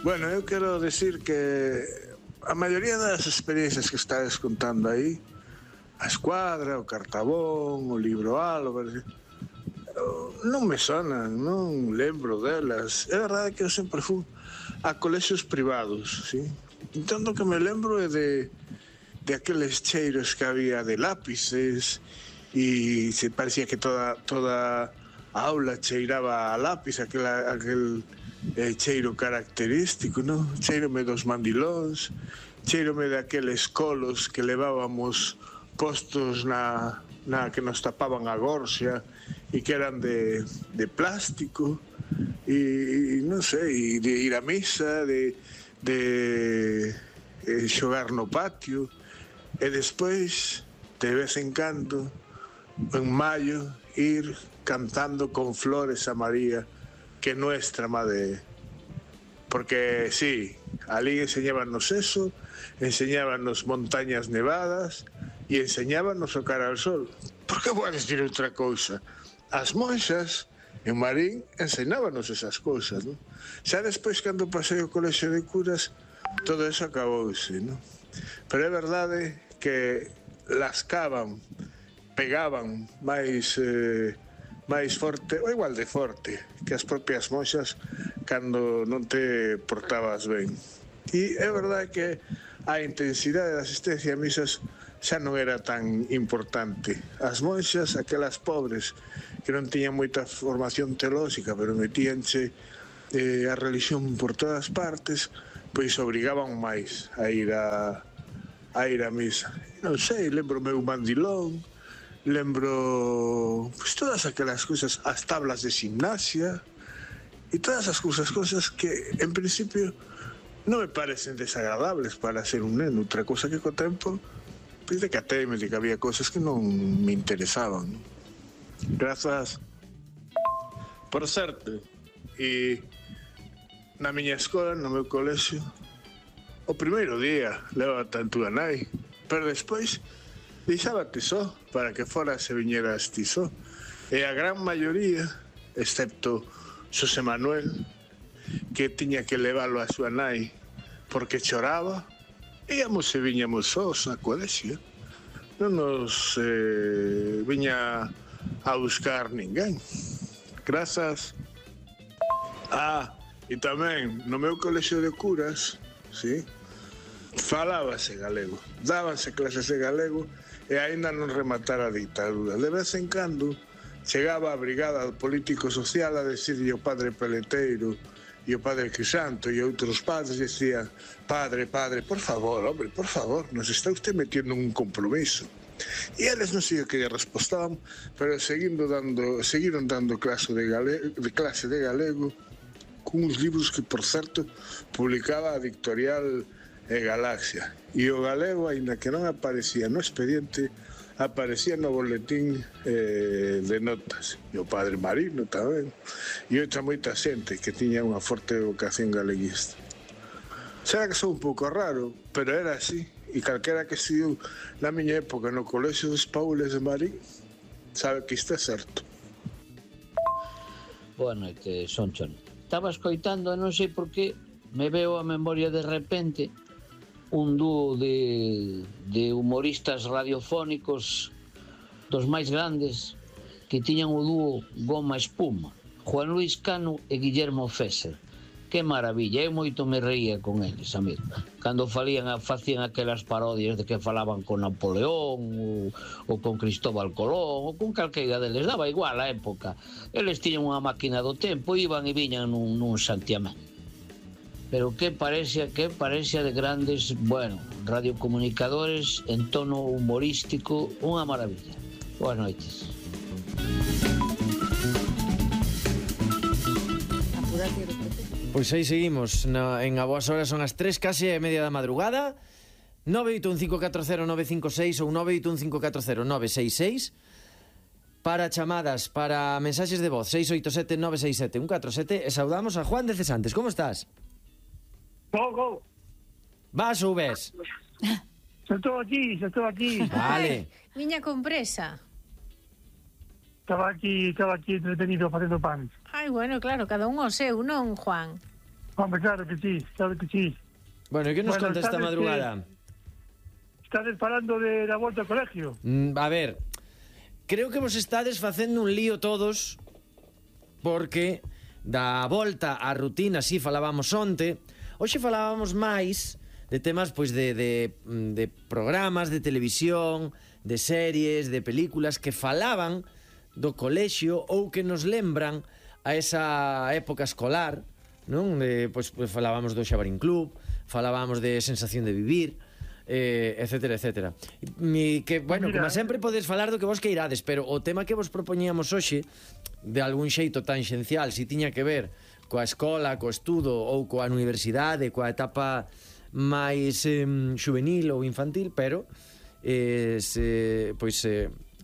Bueno, eu quero decir que a maioría das experiencias que estades contando aí, a Escuadra, o Cartabón, o Libro Álvarez, non me sonan, non lembro delas. É verdade que eu sempre fui a colexios privados, ¿sí? Entón, o que me lembro é de aqueles cheiros que había de lápices e se parecía que toda a aula cheiraba a lápiz, aquel cheiro característico, non? Cheirome dos mandilóns, cheirome daqueles colos que levábamos postos na que nos tapaban a gorxa e que eran de plástico e non sei, de ir a misa, de xogar no patio e despois de vez en cando en maio ir cantando con flores a María que nuestra madre, porque sí, ali enseñábanos eso, enseñábanos montañas nevadas e enseñábanos o cara ao sol. Por que vou a decir outra cousa? As monxas en Marín enseñábanos esas cousas, non? Xa despois, cando pasei o colexio de curas, todo eso acabouse, non? Pero é verdade que lascaban, pegaban máis forte, ou igual de forte, que as propias monxas cando non te portabas ben. E é verdade que a intensidade da asistencia a misas xa non era tan importante. As monxas, aquelas pobres que non tiñan moita formación teolóxica, pero metíanse a religión por todas partes, pois obrigaban máis a ir a misa. Non sei, lembro meu mandilón, lembro pues, todas aquelas cousas, as tablas de gimnasia e todas as cousas que en principio non me parecen desagradables para ser un neno. Outra cousa que co tempo pues, decateme de que había cousas que non me interesaban. Grazas. Por certo, e na miña escola, no meu colexio, o primeiro día leva tanto a nai, pero despois deixábate só para que foras e viñeras ti só. E a gran maioría, excepto Xosé Manuel, que tiña que leválo a súa nai porque choraba, íamos e viñamos sós a colexio. Non nos viña a buscar ninguén. Grazas. E tamén no meu colexio de curas, sí, falábase galego, dábanse clases de galego e aínda non rematara a ditadura. De vez en cando chegaba a brigada político social a decirlle o padre Peleteiro e o padre Crisanto e outros padres decían: padre, por favor, hombre, por favor, nos está usted metiendo un compromiso. E eles non sei o que lle respostaban, pero seguiron dando clase de galego con uns libros que, por certo, publicaba a editorial Galaxia. E o galego, aínda que non aparecía no expediente, aparecía no boletín de notas. E o padre Marino tamén. E outra moita xente que tiña unha forte vocación galeguista. Será que sou un pouco raro, pero era así. E calquera que estudiou na miña época no colexio dos Paules de Marín sabe que isto é certo. Boa noite, Sonchon. Estaba escoitando, non sei por que me veo a memoria de repente un dúo de humoristas radiofónicos dos máis grandes que tiñan o dúo Goma Espuma, Juan Luis Cano e Guillermo Fesser. Que maravilla, eu moito me reía con eles, amigo. Cando facían aquelas parodias de que falaban con Napoleón ou con Cristóbal Colón ou con calqueira deles, daba igual a época. Eles tiñan unha máquina do tempo, iban e viñan nun santiamén. Pero que parecía de grandes, bueno, radiocomunicadores en tono humorístico, unha maravilla. Boas noites. Pois aí seguimos en A Boas Horas, son as 3, case e media da madrugada. 981540956 ou 981540966 para chamadas, para mensaxes de voz 687-967-147. E saudamos a Juan de Cesantes. Como estás? Go. Vas ou ves? Xa estou aquí. Vale. Miña compresa. Estaba aquí entretenido facendo pan. Ai, bueno, claro, cada un o seu, non, Juan? Hombre, claro que sí, claro que sí. Bueno, e que nos Bueno, conta esta sabes madrugada? Estades falando da volta ao colegio. A ver, creo que vos estades facendo un lío todos porque da volta á rutina, si falábamos onte, hoxe falábamos máis de temas pois de programas de televisión, de series, de películas que falaban do colexio ou que nos lembran a esa época escolar, non? Pois falábamos do Xabarín Club, falábamos de Sensación de Vivir, etcétera, etcétera. Que, bueno, Mira, como sempre podes falar do que vos queirades, pero o tema que vos propoñíamos hoxe, de algún xeito tangencial, si tiña que ver coa escola, co estudo ou coa universidade, coa etapa máis juvenil ou infantil, pero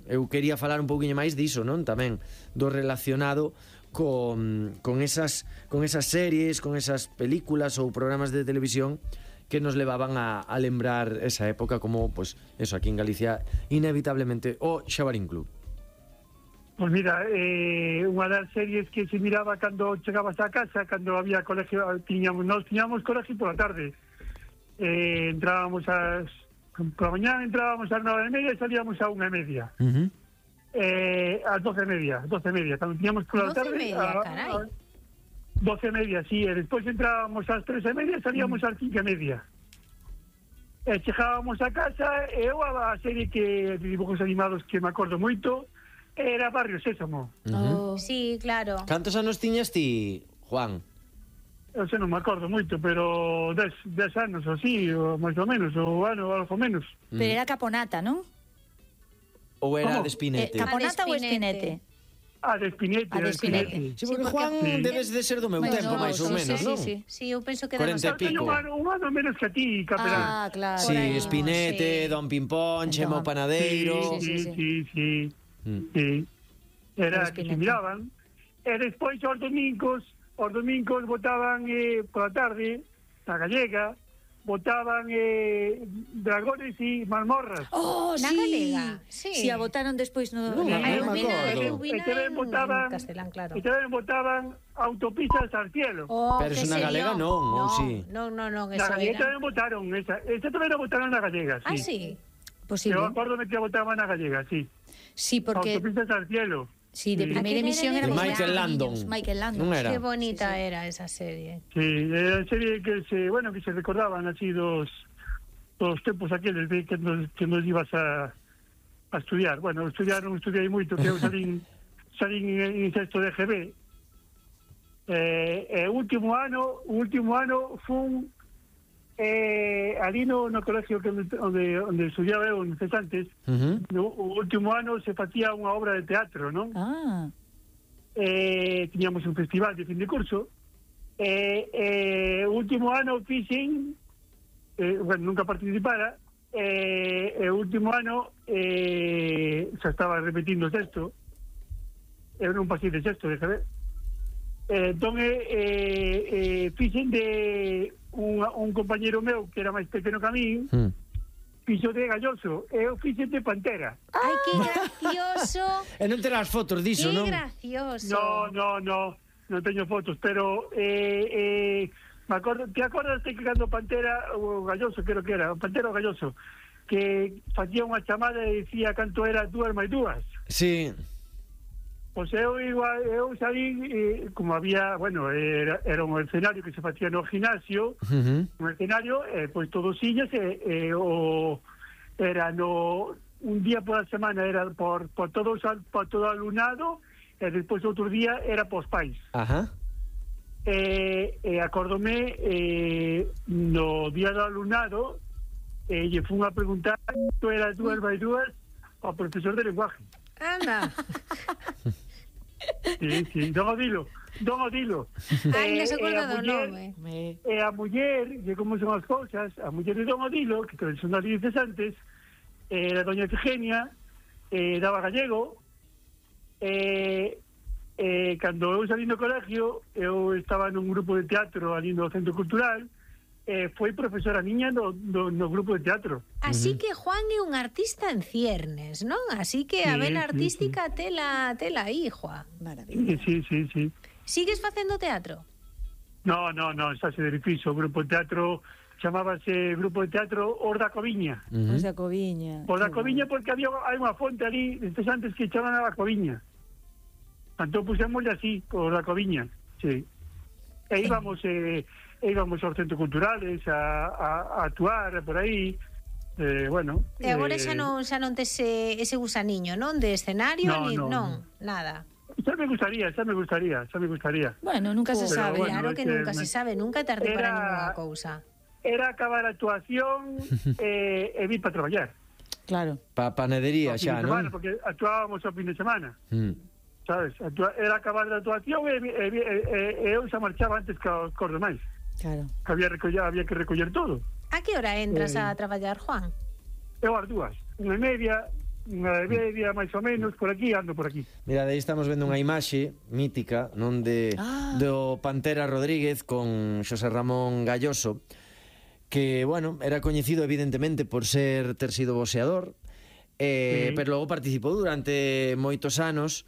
eu quería falar un pouquiño máis diso, non? Tamén do relacionado con esas series, con esas películas ou programas de televisión que nos levaban a lembrar esa época, como, pues, eso, aquí en Galicia, inevitablemente, o Xabarín Club. Pues mira, unha das series que se miraba cando chegabas a casa, cando había colegio, nos tiñamos colegio pola tarde. Entrábamos por la mañana entrábamos ás 9:30 e salíamos a 1:30. Ás 12:30, cando tiñamos pola tarde... 12:30, carai. 12:30, sí, e despois entrábamos ás 3:30 e salíamos ás 5:30. E chegábamos a casa e eu a serie de dibujos animados que me acordo moito era Barrio Sésamo. Sí, claro. Cantos anos tiñas ti, Juan? Eu sei, non me acordo moito, pero 10 anos ou así, ou máis ou menos, ou algo menos. Pero era Caponata, non? Ou era ¿Cómo? de Espinete? Caponata ou Espinete. Espinete? De Espinete. De Espinete. Sí, porque Juan debes de ser do meu tempo, máis ou menos, non? Sí, eu penso que 40 e pico. Un ano menos que a ti, Capelán. Ah, claro. Sí, Por aí, Espinete, sí. Don Pimpón, Chemo Panadeiro... Sí. Era que se miraban. E despois os domingos votaban pola tarde, na gallega, votaban dragones e mazmorras. Oh, Na sí. galega, sí. Si a votaron despois no... Non, Ai, non me acordo. E tamén votaban castelán, claro. E tamén votaban autopistas al cielo. Oh, Pero que eso na sería? galega non, ou sí? Non, Na eso gallega era. tamén votaron esa tamén a votaron na gallega, sí. Ah, sí. Posible. Eu acórdome que votaban na gallega, sí. Sí, porque... Autopistas al cielo. Sí, de Sí. primeira emisión era De con Michael niños. Landon. Michael Landon. Non era? Qué bonita era esa serie. Sí, era a serie que se recordaban así dos tempos aqueles de que nos ibas a estudiar. Bueno, non estudiei moito, que eu salín en sexto de GB. O último ano fun ali no colegio onde estudiaba eu en Cesantes. No último ano se facía unha obra de teatro, non? Ah. Tiñamos un festival de fin de curso. O último ano fixen, bueno, nunca participara, o último ano xa estaba repetindo sexto. Eu non pasei de sexto, de saber. Entón fixen de un compañero meu que era máis pequeno que a mí, fixo de Galloso, e eu fixen de Pantera. Ai, que gracioso. E non terás fotos diso, non? Qué gracioso. Non teño fotos, pero me acordo, te acordas que cando Pantera o Galloso, creo que era, Pantera o Galloso, que facía unha chamada e dicía canto era 2 máis 2. Sí. Pois eu salí, como había, bueno, era un escenario que se facía no gimnasio, un escenario, pois todos sillas, era un día por a semana era por todo o alumnado, e despois outro día era pos pais. Ajá. Acórdome, no día do alumnado, lle fun a preguntar isto era 2 máis 2 ao profesor de lenguaje. Anda. Sí, Don Odilo. Ai, non se acorda do nome. A muller, de como son as cousas, a muller de Don Odilo, que son das dices antes, era doña Efigenia, daba gallego, cando eu salí no colegio, eu estaba nun grupo de teatro ali no Centro Cultural, foi profesora miña no grupo de teatro. Así que Juan é un artista en ciernes, non? Así que a vena artística tela aí, Juan. Maravilla. Sí. Sigues facendo teatro? No, xa se difixo. O grupo de teatro chamábase Grupo de Teatro Os da Coviña. Os da Coviña. Os da Coviña porque hai unha fonte ali, destes antes que chamaban a Coviña. Entón pusémosle así, Os da Coviña, sí. E íbamos aos centros culturales a actuar por aí, bueno. E agora xa non tes ese gusaniño, non? De escenario, non, nada. Xa me gustaría. Bueno, nunca se sabe. bueno, Claro que nunca se sabe, nunca é tarde para ninguna cousa. Era acabar a actuación e vir para traballar. Claro. Pa panadería xa, non? Porque actuábamos o fin de semana. Sabes? Era acabar a actuación e eu xa marchaba antes que os demais. Claro. Había que recoller todo. A que hora entras a traballar, Juan? Eu as dúas. Unha e media, máis ou menos, por aquí, ando por aquí. Mira, aí estamos vendo unha imaxe mítica, non do Pantera Rodríguez con Xosé Ramón Galloso, que, bueno, era coñecido evidentemente por ter sido boxeador, pero logo participou durante moitos anos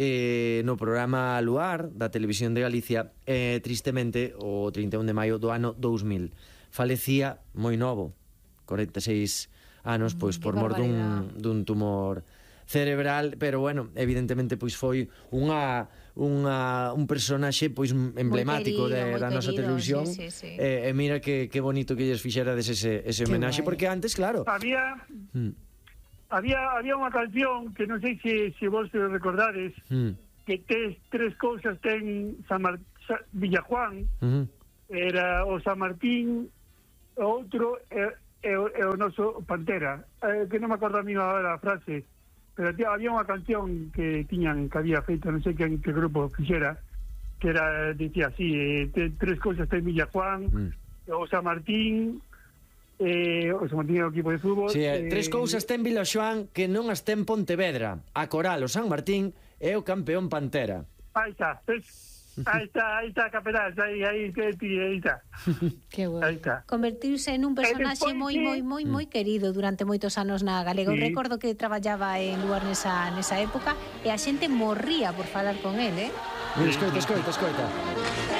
no programa Luar da Televisión de Galicia, tristemente o 31 de maio do ano 2000 falecía moi novo, 46 anos, pois por mor dun tumor cerebral, pero bueno, evidentemente pois foi un personaxe pois emblemático da nosa televisión. Sí. E mira que bonito que lles fixerades ese homenaxe, porque antes, claro, había unha canción que non sei se vos recordades, que tres cousas ten Villajuan, era o San Martín, o outro é o noso Pantera, que non me acordo a mí agora a frase, pero había unha canción que había feito, non sei que grupo fixera, que era, dicía así, tres cousas ten Villajuan, o San Martín, o San Martín é o equipo de fútbol. Sí, tres cousas ten Vilaxoán que non as ten Pontevedra: a Coral, o San Martín e o campeón Pantera. Aí está, capelás, aí está. Que bueno. Aí está. Convertirse en un personaxe moi querido durante moitos anos na Galega. Eu recordo que traballaba en Luar nesa época e a xente morría por falar con el, Mira, escoita.